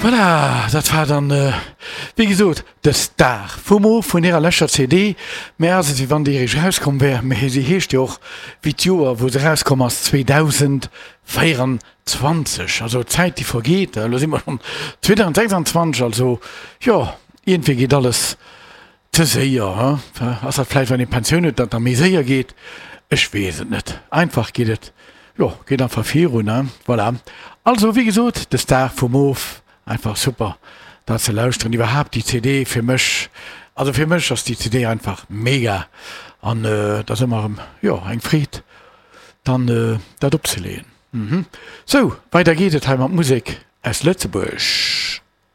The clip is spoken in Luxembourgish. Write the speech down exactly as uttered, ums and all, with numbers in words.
Voilà, dat war dann, wéi gesot, de Star vum Mo vun hirer leschter C D. Mä ass et, wéi wann déi eréischt erauskomm wär, mä si heescht jo och wéi d'Joer, wou se erauskomm ass, zweedausendvéierenzwanzeg. Also d'Zäit, déi vergeet, elo si mer schonn zweedausendsechsanzwanzeg, also jo, iergendwéi geet alles ze séier, he? Ass dat vläicht, wann ee Pensioun huet, datt da méi séier geet? Ech weess et net. Einfach geet et, jo, geet einfach virun, he? Voilà. Also, wéi gesot, de Star vum Of, einfach super, dat ze lauschteren. Iwwerhaapt déi C D fir mech, also fir mech ass déi C D einfach mega. An et ass ëmmer erëm, jo, eng Freed, dann dat opzeleeën. Sou, weider geet et hei mat Musek aus Lëtzebuerg.